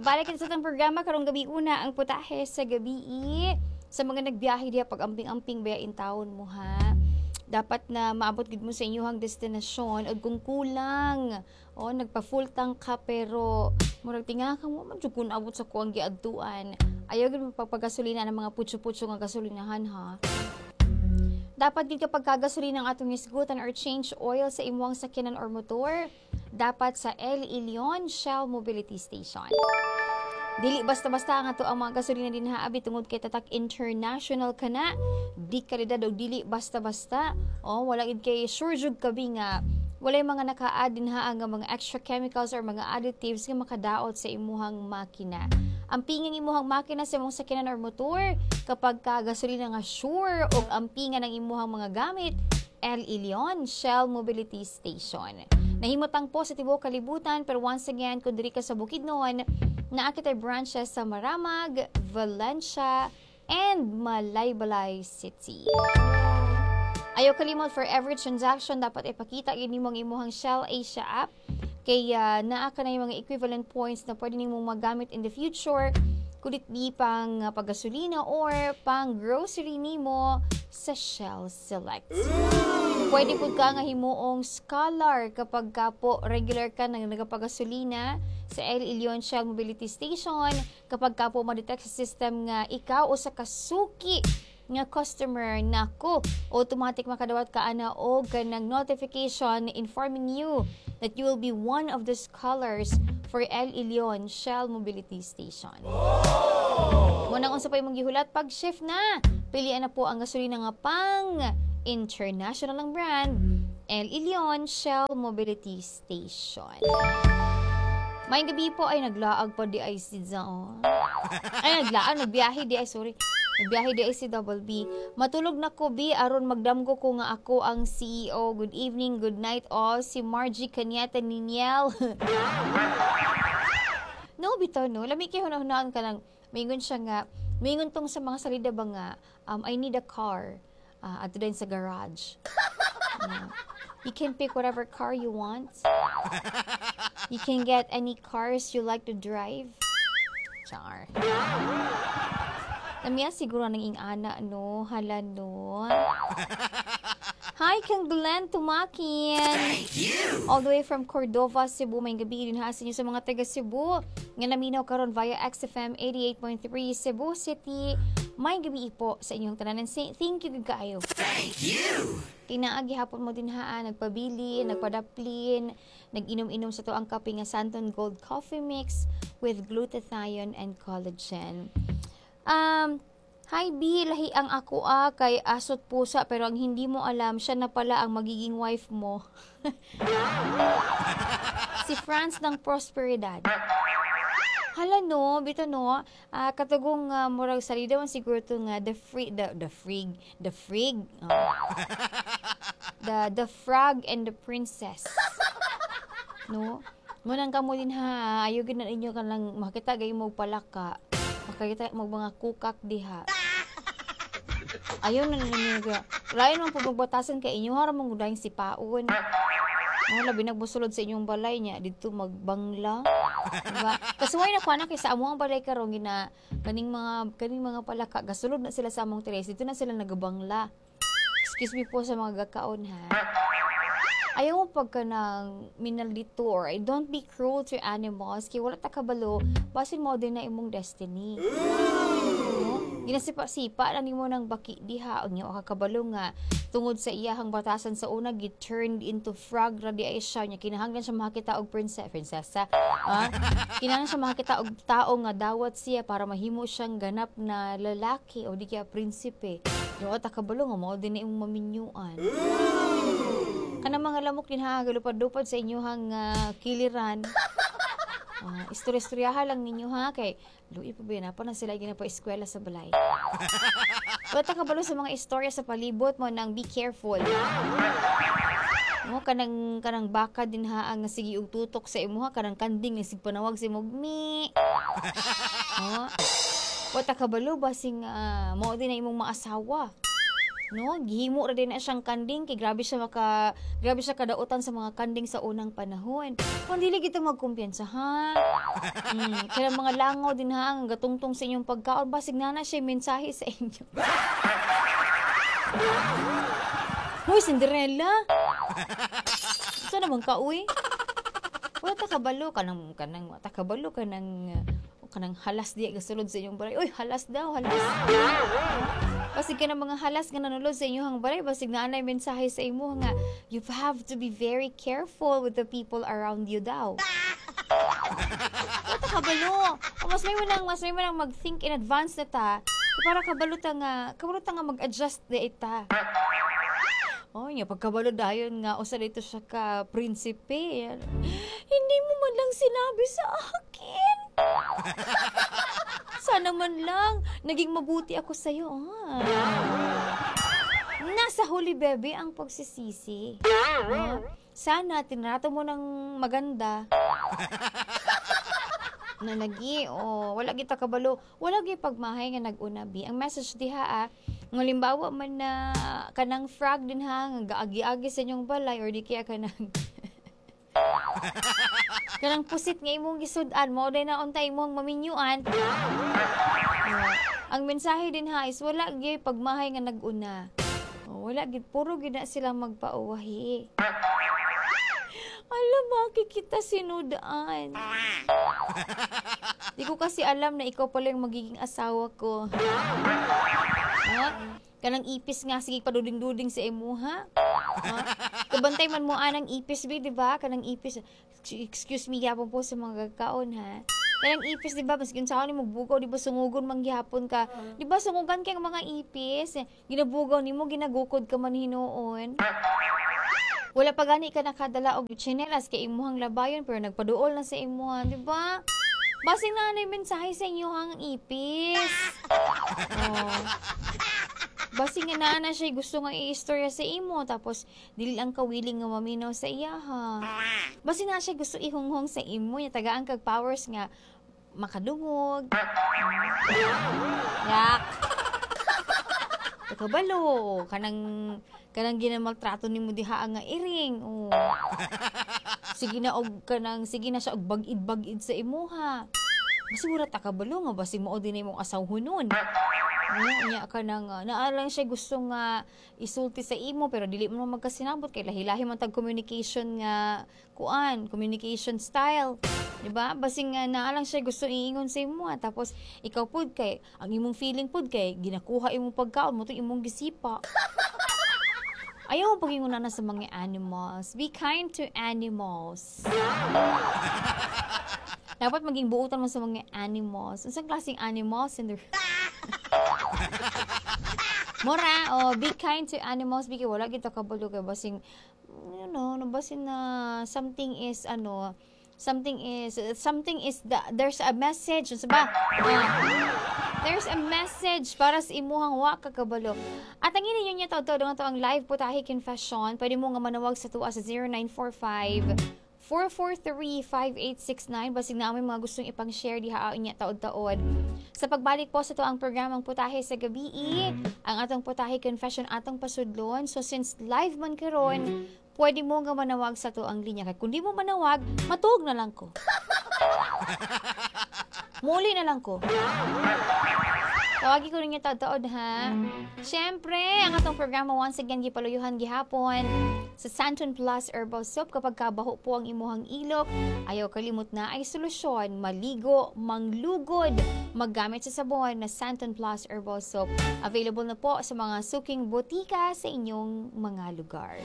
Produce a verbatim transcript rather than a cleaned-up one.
Balik sa atong programa karong gabi una ang putahe sa gabi sa mga nagbiyahe diha pag amping-amping baya intawon mo ha. Dapat na maabot gid mo sa inyong destinasyon ug kung kulang o nagpa full tank ka pero murag tinga ka mo man jud kun abot sa kuang giadtuan. Ayaw gid mo pagpagasolina ng mga putyo-putyo nga gasolinahan ha. Dapat gid kapag kagasolina ang atong hisgutan or change oil sa imong sakyanan or motor, dapat sa El Ilion Shell Mobility Station. Dili basta-basta ang ato ang mga gasolina dinha abi tungod kay tatak international kana. Di kalidad og dili basta-basta. Oh, wala gid kay sure jud kabi nga walay mga naka-add dinha nga mga extra chemicals or mga additives nga makadaot sa imuhang makina. Ampingan imuhang makina sa imong sakyanan or motor kapag ka gasolina nga sure og ampingan ang imuhang mga gamit El Ilion Shell Mobility Station. Nahimutang po sa tibuok kalibutan pero once again kung diri ka sa Bukidnon, naa kitay branches sa Maramag, Valencia, and Malaybalay City. Ayaw kalimot for every transaction dapat ipakita gyud nimo ang imuhang Shell Asia app kay uh, naa ka na yung mga equivalent points na pwede nimong magamit in the future could it be pang uh, paggasolina or pang grocery nimo sa Shell Select. Pwede pud ka nga himuong scholar kapag ka po regular ka nang nagapagasolina sa El Ilion Shell Mobility Station kapag ka po ma-detect sa system nga ikaw usa ka suki nga customer nako automatic makadawat ka ana og kanang notification informing you that you will be one of the scholars for El Ilion Shell Mobility Station. Munang unsa pa imong gihulat pag shift na. Pilian na po ang gasolina nga pang international ang brand El Ilion Shell Mobility Station. Maayong gabi po ay naglaag pa di ay si Zao. Ay naglaag, nagbiyahe di ay sorry. Nagbiyahe di ay si Double B. Matulog na ko B aron magdamgo ko nga ako ang CEO. Good evening, good night all. Si Margie Canyeta Niniel. no, bitaw no. Lami kay hunahunaan ka lang. Mingon siya nga, mingon tong sa mga salida ba nga, um, I need a car. Uh, adto din sa garage. Yeah. You can pick whatever car you want. You can get any cars you like to drive. Char. Namiya siguro ng ing-ana, no? Hala, no? Hi, kang Glenn Tumakin. Thank you. All the way from Cordova, Cebu. Maayong gabi din ha sa inyo sa mga taga Cebu. Nga naminaw karon via XFM eighty-eight point three Cebu City. Maayong gabi po sa inyong tanan. And say, thank you gud kaayo. Thank you. Kinaagi hapon mo din ha, nagpabili, nagpadaplin, nag-inom-inom sa to ang kape nga Santon Gold Coffee Mix with glutathione and collagen. Um, Hi B, lahi ang ako ah, kay asot pusa pero ang hindi mo alam, siya na pala ang magiging wife mo. si Franz ng Prosperidad. Hala no, bito no, ah, katugong uh, murag salida man siguro to nga the free the the frig, the frig. Oh. the the frog and the princess. No? Munang kamo din ha, ayaw gid na ninyo kanang makita gay mo palaka. Makita mo mga kukak diha. Ayaw na ninyo ga. Lain man po magbatasan kay inyo hara mong gudayng sipaon. Oh, labi nagbusulod sa inyong balay niya didto magbangla. Diba? Kasuway na ko na kay sa among balay karon gina kaning mga kaning mga palaka gasulod na sila sa among terrace dito na sila nagabangla. Excuse me po sa mga gakaon ha. Ayaw mo pagka ng minaldito or don't be cruel to animals kay wala ta kabalo basin mo din na imong destiny. No? Ginasipa-sipa na nimo ng baki diha unya wa ka kabalo nga tungod sa iyahang batasan sa una gi turned into frog ra di ay siya nya kinahanglan siya makakita og princess prinsesa ah kinahanglan siya makakita og tao nga dawat siya para mahimo siyang ganap na lalaki o di kaya prinsipe yung ta kabalo nga mao din na imong maminyuan kanang mga lamok din ha galupad-lupad sa inyong uh, kiliran Uh, istorya-istoryaha lang ninyo ha kay luoy pa ba yun, pa na sila ginapa eskwela sa balay. Wala ta kabalo sa mga istorya sa palibot mo nang be careful. No, kanang kanang baka din ha ang sige og tutok sa imuha kanang kanding nga sig panawag sa imong mi. No? Wa ta kabalo basing uh, mao din na imong maasawa. No, gihimo ra din na siyang kanding kay grabe siya maka grabe siya kadautan sa mga kanding sa unang panahon. Kung dili kita magkumpiyansa, ha. Mm, kaya mga langaw din ha, ang gatungtong sa inyong pagkaon, basig na na siya mensahe sa inyo. Hoy, Cinderella! Sa naman ka, uy? Wala ta kabalo kanang kanang ta kabalo kanang kanang halas diya gasulod sa inyong balay. Uy, halas daw, halas. Basig ka ng mga halas nga nanulod sa inyong balay, basig naa nay mensahe sa imo nga you have to be very careful with the people around you daw. Wala ta kabalo. O mas may nang mas may nang mag-think in advance na ta para kabalo ta nga kabalo ta nga mag-adjust di ita. Oh, nya pagkabalo dayon nga usa dito siya ka prinsipe. Hindi mo man lang sinabi sa akin. Sana man lang naging mabuti ako sa iyo. Ah. Nasa huli, bebe, ang pagsisisi. Ah, sana tinrato mo ng maganda. Na lagi, oh, wala kita kabalo, wala gyud pagmahay nga nag-una bi. Ang message diha ah, nga limbawa man na kanang frog din ha, nga gaagi-agi sa inyong balay or di kaya kanang kanang pusit nga imong gisud-an mo day na unta imong maminyuan. Oh, ang mensahe din ha is wala gyud pagmahay nga nag-una. Oh, wala gyud, puro gyud na sila magpauwahi. Alam, bakit kita sinudaan? Di ko kasi alam na ikaw pala yung magiging asawa ko. Ha? Kanang ipis nga, sige paduding-duding sa imo, ha? Ha? Kabantay man mo anang ipis, be, di ba? Kanang ipis. Excuse me, gyapon po sa mga gagkaon, ha? Kanang ipis, di ba? Maski unsaon nimo bugaw, di ba sungugon man gyapon ka? Di ba sungugan kay ang mga ipis? Ginabugaw nimo, ginagukod ka man hinuon. Wala pa gani ka nakadala og tsinelas kay imuhang labayon pero nagpaduol na sa imuha, di ba? Basing na anay mensahe sa inyuhang ipis. Oh. Basing nga naa na siya gusto nga i-istorya sa imo tapos dili lang ka willing nga maminaw sa iya ha. Basing na siya gusto ihunghong sa imo nya tagaan kag powers nga makadungog. Yak. Kabalo kanang kanang ginamaltrato nimo diha nga iring. Oh. Sige na og kanang sige na siya og bag-id-bag-id sa imuha. Basi wala ta kabalo nga basi mao din imong asawhonon. No, nya kanang uh, naa lang siya gusto nga isulti sa imo pero dili mo magkasinabot kay lahi-lahi man tag communication nga kuan, communication style. Di ba? Basing nga naa lang siya gusto iingon sa imo ah. Tapos ikaw pud kay ang imong feeling pud kay ginakuha imong pagkaon mo imong gisipa. Ayaw mo pag-ingon na sa mga animals. Be kind to animals. Dapat maging buutan mo sa mga animals. Unsang klaseng animals in the Mura, oh, be kind to animals because wala kita kabalo kay basing you know, no basin na something is ano, something is something is the, there's a message, unsa ba? Ah, there's a message para sa imuhang wa ka kabalo. At ang inyo niya taud nga to ang live putahe confession. Pwede mo nga manawag sa tuwa sa zero nine four five four four three, five eight six nine basig na may mga gustong ipang-share diha niya taod-taod. Sa pagbalik po sa to ang programang Putahe sa Gabi, ang atong putahe confession atong pasudlon. So since live man karon, pwede mo nga manawag sa to ang linya. Kay kung di mo manawag, matuog na lang ko. Muli na lang ko. Tawagi ko ninyo taod-taod ha. Siyempre, ang atong programa once again gipaluyuhan gihapon sa Santon Plus Herbal Soap. Kapag kabaho po ang imuhang ilok, ayaw kalimot na ay solusyon, maligo, manglugod, maggamit sa sabon na Santon Plus Herbal Soap. Available na po sa mga suking botika sa inyong mga lugar.